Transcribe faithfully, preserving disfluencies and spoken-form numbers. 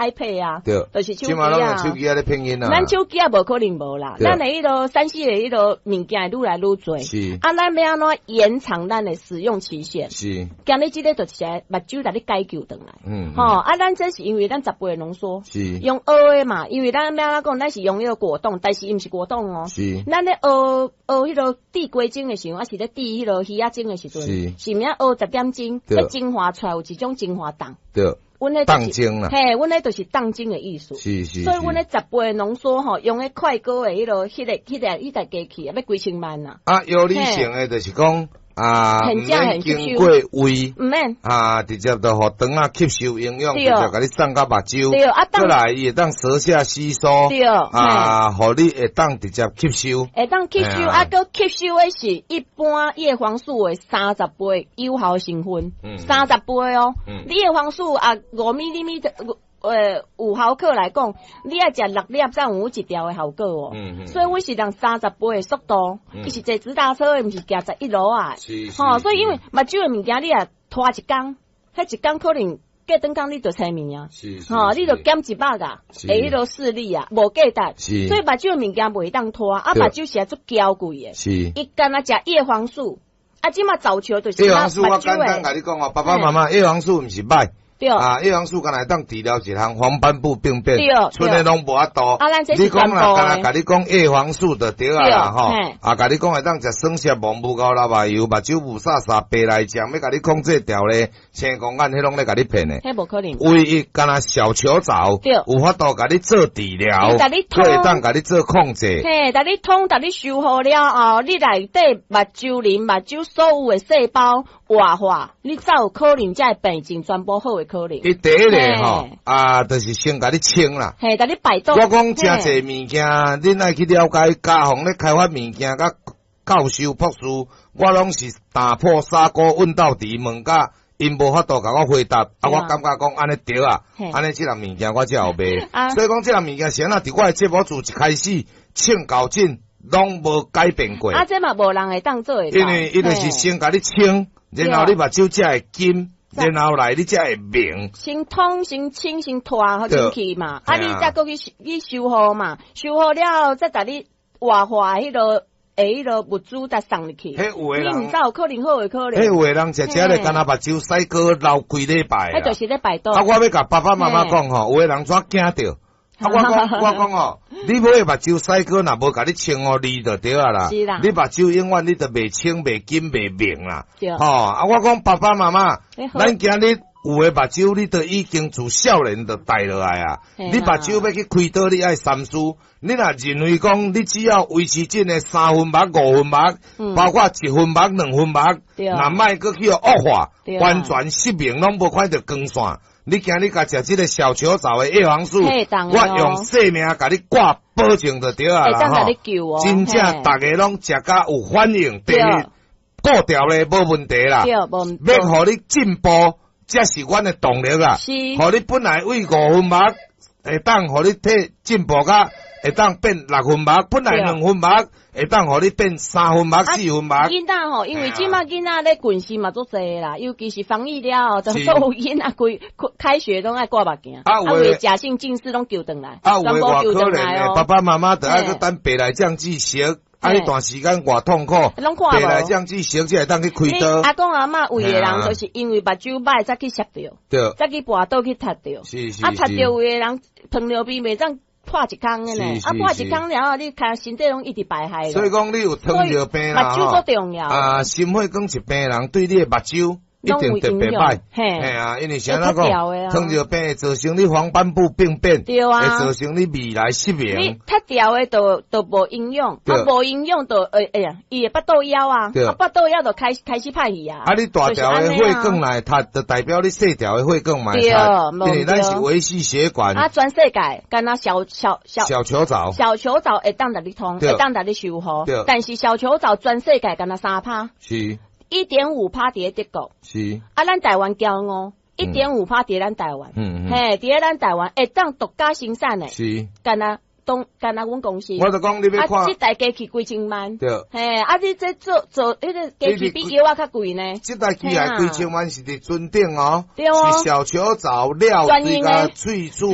iPad 啊，對，就是手機這馬攏啊用手機仔咧騙囡仔。咱手機仔無可能無啦，對咱的彼囉三 C 的彼囉物件會愈來愈濟。是啊，咱欲按怎延長咱的使用期限？是，今日這个就是來目睭來你解救轉來。嗯，吼，啊，咱這是因為咱十倍濃縮，是用熬的嘛，因為咱欲按怎講，咱是用彼個果凍，但是伊毋是果凍哦。是咱咧熬熬彼個煮雞精的時陣，抑是咧煮彼個魚仔精的時陣，是是毋是熬十點鐘，對彼精華出來有一種精華凍。對，阮彼就是凍精啦嘿，阮彼就是凍精的意思。是是，所以阮彼十倍濃縮吼，用彼快歌的彼個、彼個、彼個、彼台機器啊，欲幾千萬啊，啊，藥理性的就是講啊，很毋免正很吸收經過胃。毋免。啊，直接就予腸仔吸收營養，對直接共你送到目睭。對啊當過來伊會當舌下吸收。對啊，予你會當直接吸收。會當吸收，嘿啊啊，閣吸收的是一般葉黃素的三十倍有效成分，嗯三十倍哦。嗯你葉黃素啊，五米厘米呃，有毫克來講，你愛食六粒才有一條的效果哦。嗯嗯所以阮是用三十倍的速度，嗯伊是坐直達車的，毋是行十一路啊。是是吼，所以因為目睭的物件，你若拖一工，彼一工可能過轉工你就青盲啊。是是吼，你就減一百啊，是會彼囉視力啊，無價值。是所以目睭的物件袂當拖，啊，對目睭是足嬌貴的。是。伊干焦食葉黃素，啊，這馬早球就是葉黃素我目睭簡單的，共你講哦，爸爸媽媽，葉黃素毋是歹。對啊，葉黃素敢若會當治療一項黃斑部病變，對賰的攏無法度。啊咱這是你講啦，全部的敢若共你講葉黃素就對啊啦，吼對嘿。啊，共你講會當食酸澀無無夠流目油，目睭霧煞煞白內障，欲共你講這條咧，青光眼彼攏咧共你騙的。彼無可能。唯一敢若小球藻，對有法度共你做治療，伊共你通閣會當共你做控制。嘿，共你通，共你修好了後，你內底目睭磷、目睭所有的細胞活化，你才有可能才會病症全部好的可能。伊第一个吼嘿，啊，就是先共你清啦。嘿，共你排毒。我講誠嘿濟物件，恁愛去了解，家訪咧開發物件，佮教授博士，我攏是打破砂鍋問到底，問甲𪜶無法度共我回答，啊，對啊我感覺講按呢對啊嘿，按呢這項物件我才有賣。啊所以講這項物件是按怎佇我的節目自一開始唱到盡，攏無改變過。啊，這嘛無人會當做會到。因為伊就是先共你清，然後你目睭才會金，然後來你才會明。先通、先清、先拖好進去嘛，啊，對你再閣去修去修復嘛，修復了後再共你活化彼囉的彼囉物資再送入去。彼有的人你毋知有可能好的可能。彼有的人食食咧，干焦目睭洗膏流幾禮拜彼就是咧排毒。啊，我欲共爸爸媽媽講吼，有的人怎驚著？啊，我講我講吼，你買目睭洗膏若無共你清予膩就對啊啦。是啦你目睭永遠你就袂清、袂金、袂明啦。對吼，啊，我講爸爸媽媽欸，好咱今日有的目睭你都已經自少年就戴落來啊。嘿啊你目睭欲去開刀，你愛三思。你若認為講，你只要維持這个三分目、五分目，嗯包括一分目、兩分目，對若莫閣去予惡化對，啊完全失明攏無看著光線。你今日共食這个小球藻的葉黃素，嘿當的哦我用性命共你掛保證就對啊啦會當共你救哦真正嘿逐个攏食甲有反應，第對一顧掉咧無問題啦。對，無毋欲予你進步，才是阮的動力啦。是予你本來為五分目，會當予你提進步甲會當變六分目，本來兩分目，會當予你變三分目、四分目。囡仔吼，因為這馬囡仔咧近視嘛足濟啦，尤其是防疫了後，就是所有囡仔規開學攏愛掛目鏡，啊有的有的假性近視攏救轉來，啊，有的全部偌救可憐的，轉來哦爸爸媽媽著愛閣等白內障注射，啊，彼段時間偌痛苦，攏看無白內障注射才會當去開你刀。阿公阿嬤有的嘿啊人就是因為目睭歹才去摔著，對，才去跋倒去踢著。是是啊，踢是著有的人糖尿病袂當破一空的呢是，是啊破一空了後，你看身體攏一直排害。所以講你有糖尿病啦，目睭足重要。啊，心血管疾病的人對你的目睭一定特別歹。嘿嘿啊，因為啥怎會脫掉的講？啊糖尿病會造成你黃斑部病變，對啊會造成你未來失你明。脫掉的就就無營養，對啊無營養就會哎呀，伊會腹肚枵啊，對啊腹肚枵就開開始歹去啊。啊，你大條的血管來塞，就代表你細條的血管嘛會對塞，無因為咱是對維繫血管。啊，全世界敢若小小小小球藻，小球藻會當共你通，對會當共你修復對，但是小球藻全世界敢若三趴，是一點五趴佇咧德國，是，啊，咱台灣驕傲，一點五趴佇咧咱台灣，嗯嗯嘿，佇咧咱台灣會當獨家生產的，是敢若當干焦阮公司。我就講你欲看，啊，這台機器幾千萬。對。嘿，啊，你這做做彼個機器比藥仔較貴呢。這台機械幾千萬是佇船頂哦，對哦，是小球藻料這個萃取。